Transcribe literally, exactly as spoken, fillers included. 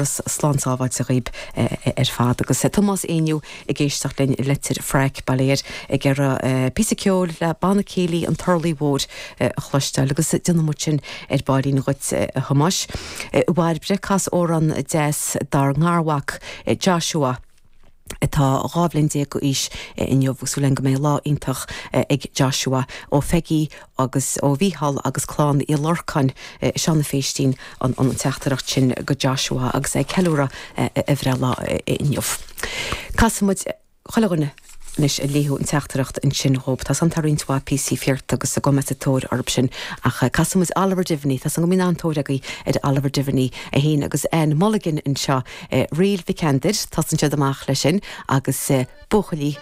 Slán sábháilte dhaoibh ar fad agus Tomás Éinniú ag éisteacht linn Leitir Fraic bail ó Dhia air ag iarraidh píosa ceoil le Banna Céilí an Turlaigh Mhóir a chloisteáil agus déanfaidh muid sin ar baillín dhuit a Thomáis. Bhairbre cas amhrán deas dár ngarmhac Joshua atá dhá bhliain déag d'aois inniu súil go mbeidh lá iontach ag Joshua ó Pheigí agus ó Mhícheál agus clann Uí Lorcáin Seán Féistín an an teachtaireacht sin go Joshua agus é ag ceiliúradh a bhreithlá inniu. Casfaidh muid chuile dhuine anois a léadh an teachtaireacht ansin dhób Tá an roinnt mhaith píosaí fíorta agus a gom tóir orthu sin ach casfaidh muid Oliver Diviney Tá go mbíonn an-tóir agaibh ar Oliver Diviney é féin agus Ann Mulligan anseo Ríl Vikander tá siad amach leis sin agus buachaillí